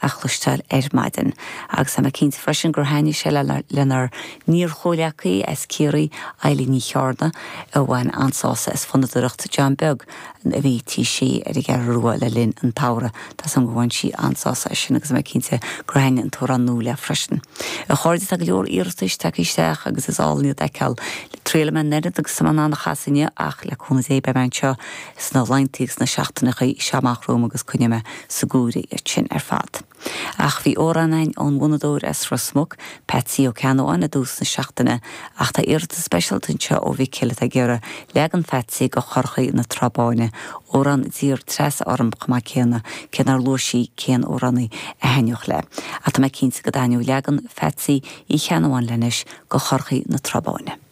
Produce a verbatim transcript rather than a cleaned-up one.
a chloisteáil ar maidin. Agus tá mé cinnte freisin gur thaitnigh sé lenár n-iar-chomhleacaí as Ciarraí Eilín Ní Chearna a bhain an-sásamh as fonnadóireacht John Beag a bhí tí sí ar an gCeathrú Rua le linn an tsamhraidh Tá san go bhain sí an-sásamh as sin agus mé cinnte gur thaitnigh an t-amhrán nua léi freisin. A chairde tá go leor iarratais tagtha isteach agus is álainn iad a fheiceáil. Triail mé nead agus sam an chasinne ach le cúnamh Dé beidh mé anseo sna laethanta sna seachtainí seo amach romhainn agus coinneoidh mé sa gcúire iad sin ar fad. Ach bhí amhrán againn ón bhfonnadóir as Ros Muc, Patsy Ó Ceannabháin i dtús na seachtaine ach tá iarratas speisialta anseo ó Mhicil atá ag iarraidh leagan Phatsy de Chorrchaí na Trá Báine, amhrán a d'iarr Treasa orm chomh maith céanna cé nár luaigh sí cén amhránaí a thaitneodh léi. Ach tá mé cinnte go dtaitneodh leagan Phatsy Uí Cheannabháin leis de Chorrchaí na Trá Báine.